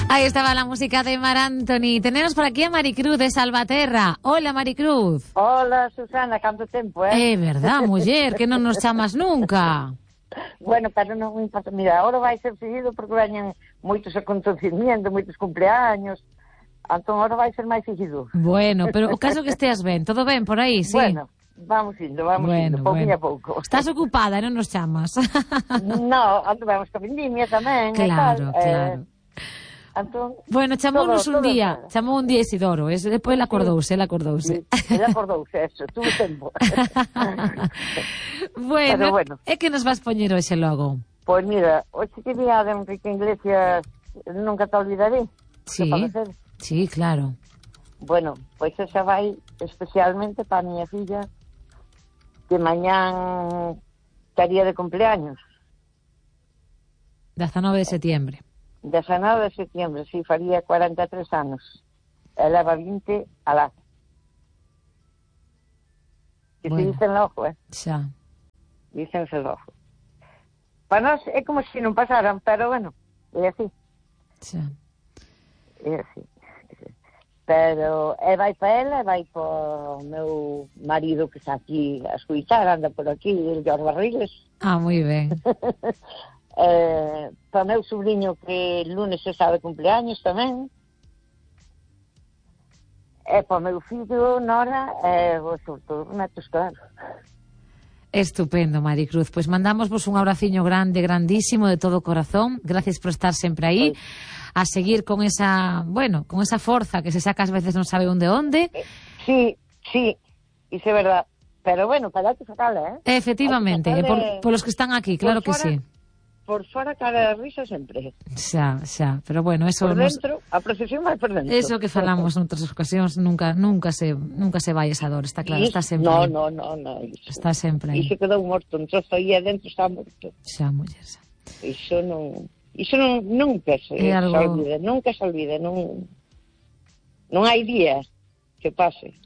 Ahí estaba la música de Mar Anthony. Tenemos por aquí a Maricruz de Salvaterra. Hola, Maricruz. Hola, Susana, canto tempo, eh? É verdad, muller, que non nos chamas nunca. Bueno, pero non me importa. Mira, ahora vai ser seguido porque veñen moitos acontecimientos, moitos cumpleaños. Entón, ahora vai ser máis seguido. Bueno, pero o caso que esteas ben. Todo ben por aí, sí? Bueno, vamos indo, pouquinho a pouco. Estás ocupada, non nos chamas. No, andamos con vendimia tamén. Claro, e tal. claro. Entón, Bueno, chamounos un día, todo. chamou un día Isidoro, depois ele acordouse. Sí, ele acordouse, eso, tuvo tempo. Bueno, bueno. é que nos vas poñer hoxe logo? Pois mira, hoxe que día de Enrique Iglesias, nunca te olvidaré. Sí, claro. Bueno, pois esa vai especialmente para a miña filla, que mañán estaría de cumpleaños. 19 de setembro. 19 de setembro, si, faría 43 anos. Ela va 20 alá. Que bueno. se dicen logo, Xa. Dícense logo. Para nós é como se non pasaran, pero bueno, é así. Xa. É así. Pero vai para ela, vai para o meu marido que está aquí a escuitar, anda por aquí, el Jorge Barriles. Ah, moi ben. Para o meu sobrinho que lunes está de cumpleaños tamén. E para o meu fillo, Nora, sobre todo, netos, claro. Estupendo, Maricruz. Pois mandamosvos un abraciño grande, grandísimo, de todo corazón. Gracias por estar sempre aí. A seguir con esa, bueno, con esa forza que se saca ás veces non sabe onde. Sí, iso é verdad. Pero bueno, para que sacala, Efectivamente, por los que están aquí, claro que sí. Por fora cara de risa sempre. Xa, pero bueno, eso por dentro, a procesión vai por dentro. Eso que falamos noutras ocasións, nunca se vai esa dor, está claro, está sempre aí. No, iso, está sempre aí. Iso quedou morto, un trozo aí adentro está morto. Xa, muller, xa. Iso nunca se olvida, nunca se olvida, non hai días que pase.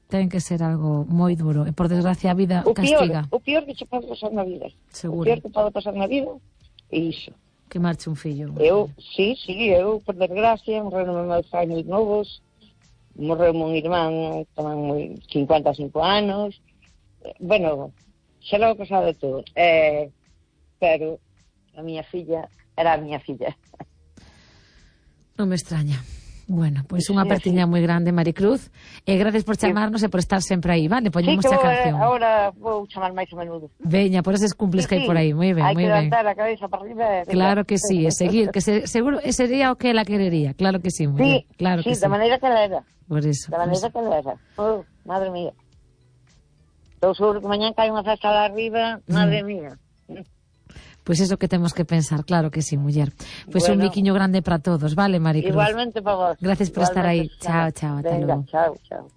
Ten que ser algo moi duro. E, por desgracia, a vida castiga. O pior que se pode pasar na vida. Seguro. O pior que pode pasar na vida é iso. Que marche un fillo. Sí, eu, por desgracia, morreron meus anos novos, morreu un irmán tamén 55 anos. Bueno, xa logo pasado de todo. Pero a miña filla era a miña filla. Non me extraña. Bueno, pois unha apertiña moi grande, Maricruz, e gracias por chamarnos e por estar sempre aí, vale? Poñemos a canción. Agora vou chamar máis a menudo. Veña, por eses cumples que hai por aí, moi ben, moi ben. Hai que levantar a cabeza para arriba. Claro que sí, e seguir, que seguro ese sería o que ela querería, claro que sí, muller, claro que sí. Sí, da maneira que ela era. Por eso. Da maneira que ela era. Madre mía. Estou seguro que mañán cae unha festa lá arriba, madre mía. Pois eso que temos que pensar, claro que sí, muller. Pois un biquiño grande para todos, vale, Maricruz? Igualmente para vos. Gracias por estar aí. Chao, ata logo. Chao.